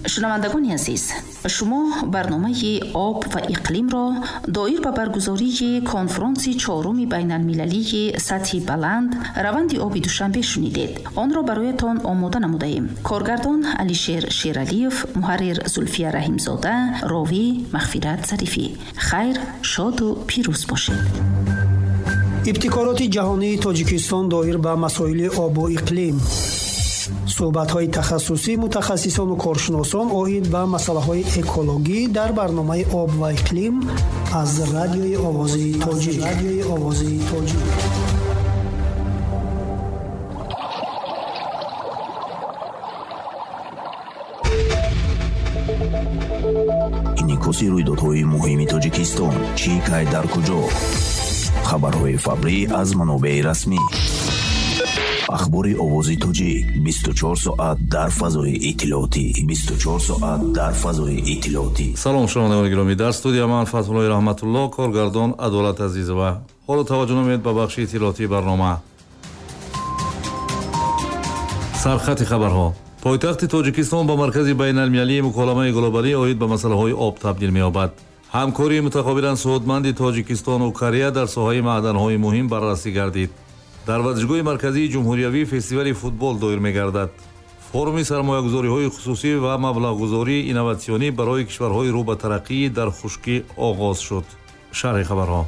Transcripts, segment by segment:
Шунавандагони азиз, шумо барномаи об ва иқлимро доир ба баргузории конфронси чоруми байналмилалии сатҳи баланд раванди оби Душанбе шунидед. Онро бароятон омода намудаем. Коргардон Алишер Шералиев, муҳаррир Зулфия Раҳимзода, ровӣ Мағфират Зарифӣ. Хайр, шоду пирӯз бошед. Ибтикороти ҷаҳонии Тоҷикистон доир ба масоили обу иқлим. Суҳбатҳои тахассусӣ мутахассисону коршиносон оид ба масъалаҳои экологӣ дар барномаи об ва иқлим аз радиои Овози Тоҷик. Радиои Овози Тоҷик. Инъикоси рӯйдодҳои муҳими Тоҷикистон. Чӣ, кай, дар куҷо? Хабарҳои фаврӣ аз манобеи расмӣ. Ахбори Овози Тоҷик 24 соат дар фазои иттилоотӣ. 24 соат дар фазои иттилоотӣ. Салом, шунавандагони гиромӣ. Дар студия ман Фатҳуллои Раҳматулло, коргардон Адолат Азизова. Ҳоло таваҷҷӯҳ намоед ба бахши иттилоотии барнома. Сархати хабарҳо. Пойтахти Тоҷикистон ба маркази байналмилалии муколамаи глобалӣ оид ба масъалаҳои об табдил меёбад. Ҳамкории мутақобилан суудманди Тоҷикистону Корея дар соҳаи маъданҳои муҳим баррасӣ гардид. Дар варзишгоҳи марказии ҷумҳуриявӣ фестивали футбол доир мегардад. Форуми сармоягузориҳои хусусӣ ва маблағгузории инноватсионӣ барои кишварҳои рӯ ба тараққӣ дар хушкӣ оғоз шуд. Шарҳи хабарҳо.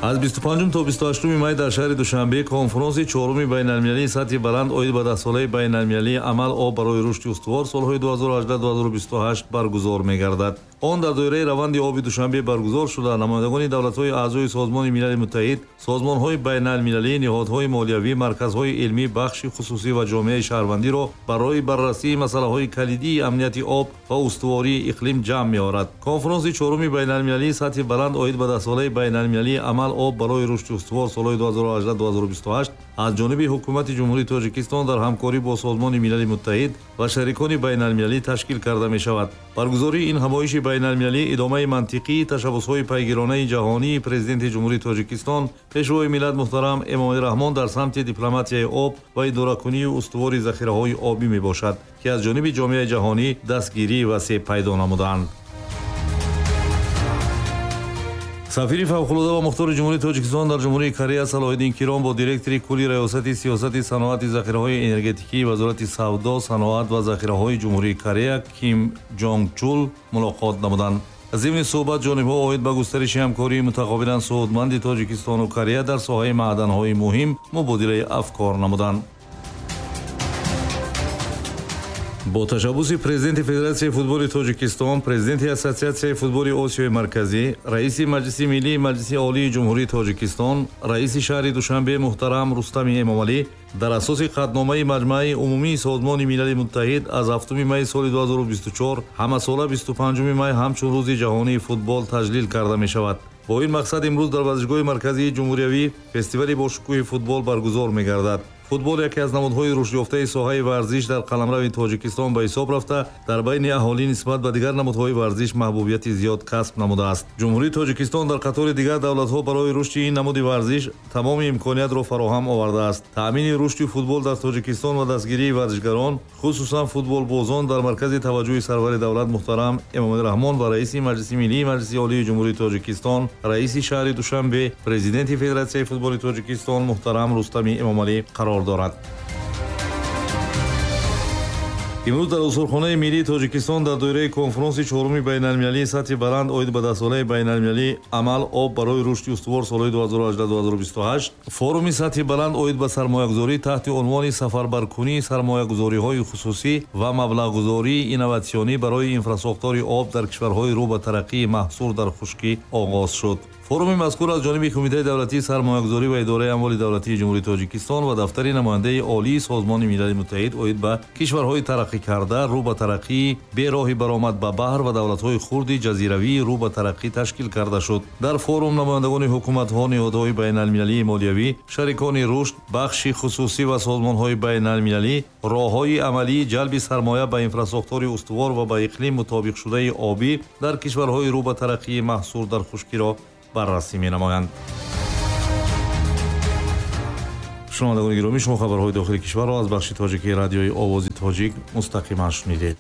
Аз 25 то 28 май дар шаҳри Душанбе конфронси чоруми байналмилалии сатҳи баланд оид ба даҳсолаи байналмилалии амал об барои рушди устувор солҳои 2018-2028 баргузор мегардад. Он дар доираи раванди оби Душанбе баргузор шуда, намояндагони давлатҳои аъзои Созмони Милали Муттаҳид, созмонҳои байналмилалӣ, ниҳодҳои молиявӣ, марказҳои илмӣ, бахши хусусӣ ва ҷомеаи шаҳрвандиро барои баррасии масъалаҳои калидии амнияти об ва устувории иқлим ҷамъ меорад. Конфронси чоруми байналмилалии сатҳи баланд оид ба даҳсолаи байналмилалии амал об барои рушди устувор солҳои 2018-2028 аз ҷониби ҳукумати Ҷумҳурии Тоҷикистон дар ҳамкорӣ бо Созмони Милали Муттаҳид ва шарикони байналмилалӣ ташкил карда мешавад. Баргузории ин ҳамоиши байналмилалӣ идомаи мантиқии ташаббусҳои пайгиронаи ҷаҳонии Президенти Ҷумҳурии Тоҷикистон, Пешвои миллат муҳтарам Эмомалӣ Раҳмон дар самти дипломатияи об ва идоракунии устувори захираҳои обӣ мебошад, ки аз ҷониби ҷомеаи ҷаҳонӣ дастгирии васеъ пайдо намуданд. Сафири фавқулода ва мухтори Ҷумҳурии Тоҷикистон дар Ҷумҳурии Корея Салоҳиддин Киром бо директори кулли Раёсати сиёсати саноати захираҳои энергетикии Вазорати савдо, саноат ва захираҳои Ҷумҳурии Корея Ким Ҷонг Чул мулоқот намуданд. Зимни суҳбат ҷонибҳо оид ба густариши ҳамкории мутақобилан суудманди Тоҷикистону Корея дар соҳаи маъданҳои муҳим мубодилаи афкор намуданд. Бо ташаббуси Президенти Федератсияи футболи Тоҷикистон, Президенти Ассотсиатсияи футболи Осиёи Марказӣ, Раиси Маҷлиси Миллии Маҷлиси Олии Ҷумҳурии Тоҷикистон, Раиси шаҳри Душанбе муҳтарам Рустами Эмомалӣ дар асоси қатъномаи Маҷмааи Умумии Созмони Милали Муттаҳид аз 7 май соли 2024 ҳамасола 25 май ҳамчун Рӯзи ҷаҳонии футбол таҷлил карда мешавад. Бо ин мақсад имрӯз дар варзишгоҳи марказии ҷумҳуриявӣ фестивали бошукӯҳи футбол баргузор мегардад. Футбол яке аз намудҳои рушдёфтаи соҳаи варзиш дар қаламрави Тоҷикистон ба ҳисоб рафта, дар байни аҳолӣ нисбат ба дигар намудҳои варзиш маҳбубияти зиёд касб намудааст. Ҷумҳурии Тоҷикистон дар қатори дигар давлатҳо барои рушди ин намуди варзиш тамоми имкониятро фароҳам овардааст. Таъмини рушди футбол дар Тоҷикистон ва дастгирии варзишгарон, хусусан футболбозон, дар маркази таваҷҷӯҳи сарвари давлат муҳтарам Эмомалӣ Раҳмон ва Раиси Маҷлиси Миллии Маҷлиси Олии Ҷумҳурии Тоҷикистон, Раиси шаҳри Душанбе, Президенти Федератсияи футболи Тоҷикистон муҳтарам Рустами Эмомалӣ қарор дорад. Имрӯз дар Осорхонаи миллии Тоҷикистон дар доираи конфронси чоруми байналмилалии сатҳи баланд оид ба даҳсолаи байналмилалии амал об барои рушди устувор солҳои 2018-2028 форуми сатҳи баланд оид ба сармоягузорӣ таҳти унвони сафарбаркунии сармоягузориҳои хусусӣ ва маблағгузории инноватсионӣ барои инфрасохтори об дар кишварҳои рӯ ба тараққии маҳсур дар хушкӣ оғоз шуд. Форуми мазкур аз ҷониби Кумитаи давлатии сармоягузорӣ ва идораи амволи давлатии Ҷумҳурии Тоҷикистон ва дафтари намояндаи олии Созмони Милали Муттаҳид оид ба кишварҳои тараққӣ карда, рӯ ба тараққӣ, бероҳи баромад ба баҳр ва давлатҳои хурди ҷазиравии рӯ ба тараққӣ ташкил карда шуд. Дар форум намояндагони ҳукуматҳо, ниҳодҳои байналмилалии молиявӣ, шарикони рушд, бахши хусусӣ ва созмонҳои байналмилалӣ роҳҳои амалии ҷалби сармоя ба инфрасохтори устувор ва ба иқлим мутобиқшудаи обӣ дар кишварҳои рӯ ба тараққии маҳсур дар хушкиро баррасӣ менамоянд. Шунавандагони гиромӣ, шумо хабарҳои дохили кишварро аз бахши тоҷикии радиои Овози Тоҷик мустақиман шунидед.